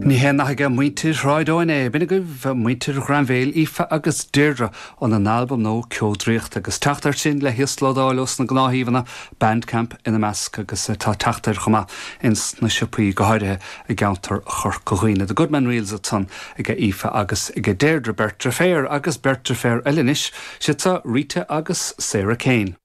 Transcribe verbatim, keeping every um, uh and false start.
Ní hé nach ag muintir Shráid Eoin é, b'in agaibh muintir Ghrainbhéil Aoife agus Deirdre óna n-albam nua Ceo Draíochta agus teacht air sin le híoslódáil ós na gnáthshuíomhanna Bandcamp ina measc agus tá teacht air chomh maith ins na siopaí go háirithe i gceantar Chorca Dhuibhne. The Goodman Reels ansan ag Aoife agus ag Deirdre beirt deirféar agus beirt deirféar eile anois, siad Rita agus Sarah Kane.